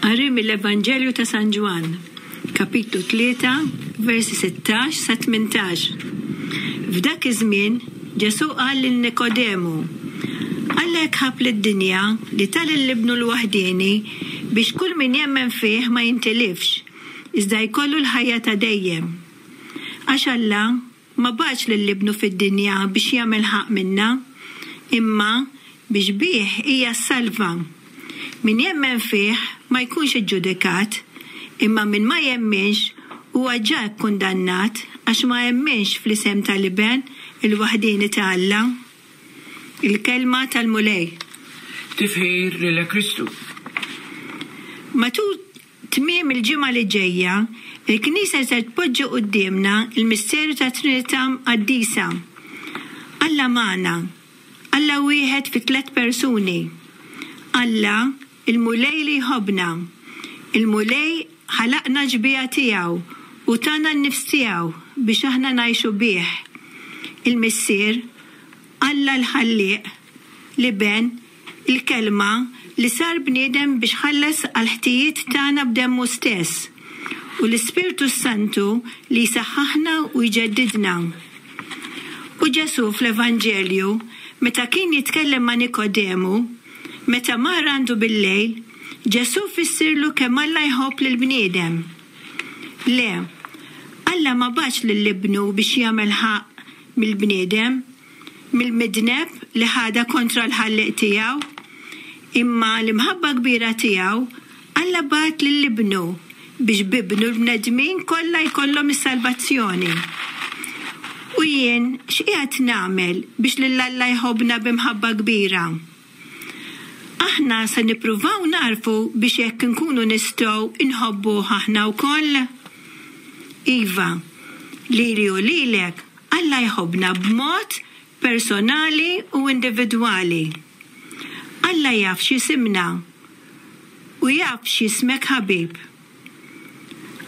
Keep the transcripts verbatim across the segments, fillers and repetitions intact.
Qari mill-Evanġelju ta' San Ġwann, kapitlu tlieta, versi sittax sa tmintax. F'dak iż-żmien Ġesù qal lil Nikodemu, Alla hekk ħabb lid-dinja li ta lil Ibnu l-waħdieni biex kull min jemmen fih ma jintilifx, iżda jkollu l-ħajja ta' dejjem. Għax Alla ma bagħatx lil Ibnu fid-dinja biex jagħmel ħaqq minna, imma biex bih hija ssalva. Min jemmen fih ma jkunx iġġudikat, imma min ma jemminx huwa ġa kkundannat għax ma emminx fl-isem tal-Iben il-waħdieni ta' Alla. Il-kelma tal-Mulej. Tifħir lilek Kristu. Matul tmiem il-ġimgħa li ġejja, il-Knisja ser tpoġġi quddiemna l-misteru tat-Trinità Mqaddisa. Alla magħna, Alla wieħed fi tliet persuni. Alla, il-Mulej li jħobbna. Il-Mulej ħalaqna xbieha tiegħu u tana n-nifs tiegħu biex aħna ngħixu bih. Il-Missier, Alla l-Ħallieq, l-Iben, il-Kelma li sar bniedem biex ħallas għall-ħtijiet tagħna b'demmu stess, u l-Ispirtu s-Santu li jsaħħaħna u jġeddidna. U Ġesù fl-Evanġelju, meta kien jitkellem ma' Nikodemu, meta mar għandu bil-lejl, Ġesù fissirlu kemm Alla jħobb lill-bniedem. Le, Alla ma bagħatx lil Ibnu biex jagħmel ħaqq mill-bniedem, mill-midneb li ħadha kontra l-Ħallieq tiegħu, imma l-imħabba kbira tiegħu Alla bagħat lil Ibnu biex b'Ibnu l-bnedmin kollha jkollhom is-salvazzjoni. U jien x'qiegħed nagħmel biex lil Alla jħobbna b'imħabba kbira? Aħna se nippruvaw nagħrfu biex hekk inkunu nistgħu nħobbuh aħna wkoll? Iva, lili u lilek Alla jħobbna b'mod personali u individwali. Alla jaf x'isimna u jaf x'ismek ħabib.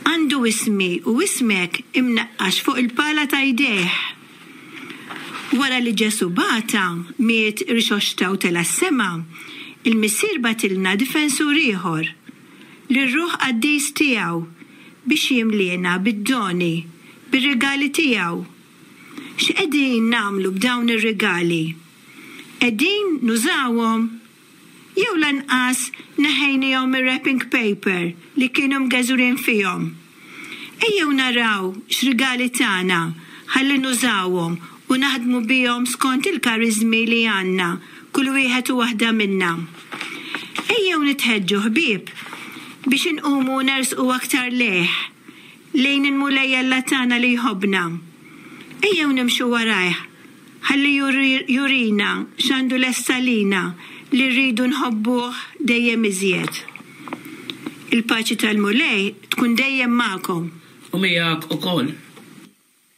Għandu ismi u ismek imnaqqax fuq il-pala ta' jdejh. Wara li Ġesù bata, miet, irxoxta u tela' s-sema, il-Missier bagħtilna difensur ieħor, lir-Ruħ Qaddis tiegħu, biex jimliena bid-doni, bir-rigali tiegħu. X'qegħdin nagħmlu b'dawn ir-rigali? Qegħdin nużawhom? Jew lanqas neħejnihom mir-wrapping paper li kienu mgeżwrin fihom? Ejjew naraw x'rigali tagħna ħalli nużawhom u naħdmu bihom skont il-kariżmi li għandna kull wieħed u waħda minna. Ejjew nitħeġġu ħbieb biex inqumu nersqu aktar lejh, lejn il-Mulej Alla tagħna li jħobbna. Ejjew nimxu warajh, ħalli jurina x'għandu lest għalina li rridu nħobbuh dejjem iżjed. Il-paċi tal-Mulej tkun dejjem magħkom. U miegħek ukoll.